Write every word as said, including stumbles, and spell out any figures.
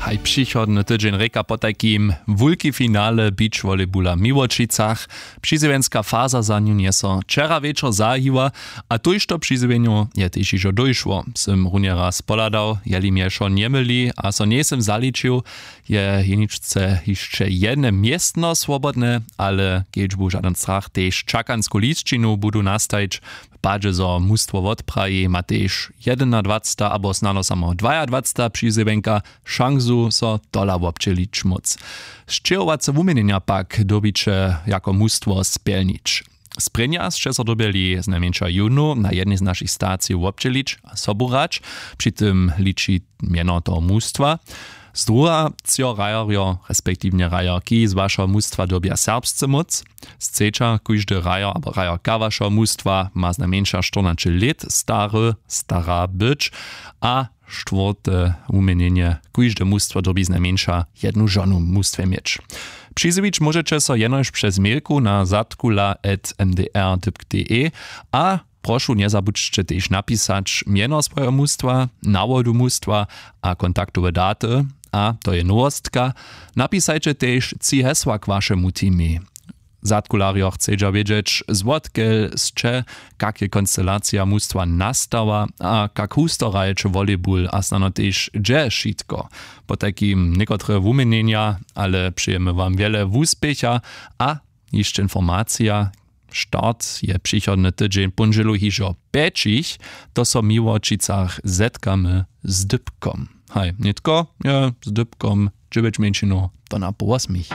Haj přichodny tydźeń rěka potajkim wulki finale beach volleybula w Miłočicach. Přizjewjenska faza za nju njeso wčera wječor zahajiła, a tójšto přizjewjenjow je tež hižo dóšło. Sym runje raz pohladał, jeli mje wšo njemyli a so njejsym zaličił, je jeničce hišće jedne městno swobodne, ale kedźbu žadyn strach tež čakansku lisćinu budu nastajić. W padźe zo mustwo wotpraji, ma tež jedynadwacta abo snano samo dwajadwacta přizjewjenka šansu so tola wobdźělić móc. Sćěhowace wuměnjenja pak dyrbiće jako mustwo spjelnić. Sprěnja sće so dyrbjeli znajmjeńša jónu na jednej z našich stacijow wobdźělić a sobu hrać. Při tym liči mjeno toho mustwa. Zdruha třo hrajerjo respektiwnje hrajerki z wašeho mustwa dyrbja serbsce móc. Sceća kóždy hrajer abo hrajerka wašeho mustwa ma znajmjeńša štyrnaće lět stary stara być. A štwórte wuměnjenje: kóžde mustwo dyrbi znajmjeńša jednu žonu w mustwje měć. Přizjewić móžeće so jenož přez mailku na zatkula at m d r dypk d e. A prošu, njezabudźće tež napisać mjeno swojeho mustwa, nawodu mustwa a kontaktowe daty. A to je nowostka: napisajće tež tři hesła k wašemu teamej. Zadkularjo chcedźa wědźeć, zwotkel sće, kak je konstelacija mustwa nastała a kak husto hrajeće volleyball a snano tež hdźe wšitko. Potajkim někotre wuměnjenja, ale přejemy wam wjele wuspěcha. A hišće informacija: start je přichodny tydźeń póndźělu hižo pjećich. To so w Miłočicach zetkamy z dypkom. Haj nětko je z dypkom dźewjeć mjeńšinow to na połosmich.